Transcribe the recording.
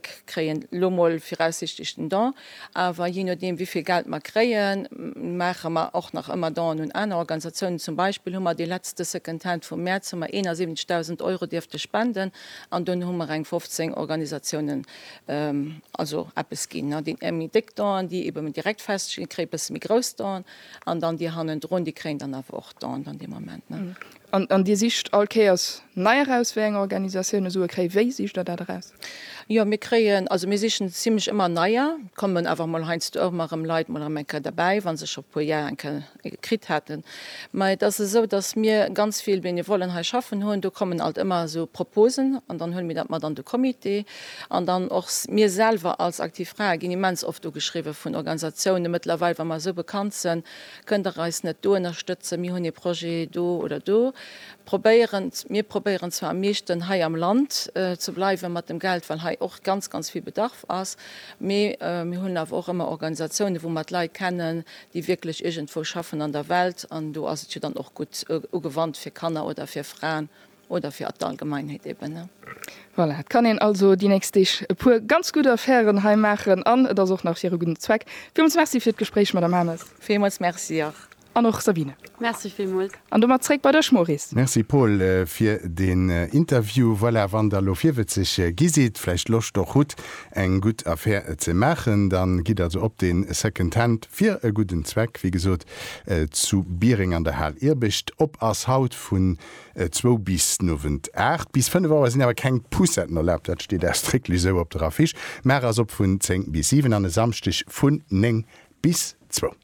Kréien elo mol viraussichtlech den Don, awer jee nodeem wéi vill Geld mer kréien, maache mer och nach ëmmer Donen un aner Organisatiounen. Zum Beispill hu mer dee letzte Second Hand vum Mäerz hu mer 71.000 Euro dierfte spenden an dunn hu mer eng 15 Organisatiounen also eppes ginn. Déi méi déck Donen, déi ebe direkt feststinn, kréie bësse méi grouss Donen an dann déi hannendrun, déi kréien dann awer och Donen dann dee Moment. An Dir sicht all Kéiers nei eraus, wéi eng Organisatioune Sue kréien. Wéi sicht Der dat eraus? Jo, mir kréien, also mir sichen zimlech ëmmer neier. Et kommen awer mol heiansdo och ëmmer erëm Leit mol erëm eng Kéier derbäi, wa se scho puer Jar eng Kéier kritt haten. Mä et ass esou, datt mir ganz vill Benevollen hei schaffen hunn. Do kommen alt ëmmer esou Proposen an dann huele mir dat mat an de Comité. An dann och mir selwer als Aktiv Frae ginn immens oft ugeschriwwe vun Organisatiounen mëttlerweil, wa mer esou bekannt sinn, Kënnt der eis net do ënnerstëtzen, mir hunn ee Projet do oder do. Probéieren, mir probéieren zwar am meeschten hei am Land ze bleiwe mat dem Geld, well hei och ganz, ganz vill Bedarf ass, mee mir hunn awer och ëmmer Organisatiounen, wou mer d'Leit kennen, déi wierklech iergendwou schaffen an der Welt an do ass et jo dann och gutt ugewannt fir Kanner oder fir Fraen. Oder fir d'Allgemeinheet eben. Voilà, et kann een also déi nächst Deeg e puer ganz gutt Affären hei maachen an et ass och nach fir e gudden Zweck. Villmools Merci fir d'Gespréich, Madame Hames. Villmools Merci och. An och Sabine. Merci villmools. An domat zréck bei dech, Maurice. Merci Paul fir den Interview. Voilà, wann der elo virwëtzeg gi sidd, vläicht Loscht och hutt eng gutt Affär ze maachen, dann gitt also op den Second Hand fir e gudden Zweck, wéi gesot zu Biereng an der Hal Irbecht. Op ass haut vun Zwou bis den Owend 8. Bis 5 Auer sinn awer keng Poussetten erlaabt, dat steet ausdrécklech esou op der Affiche. Maach ass op vun 10 bis 7 an e Samschdeg vun 9 bis zwou.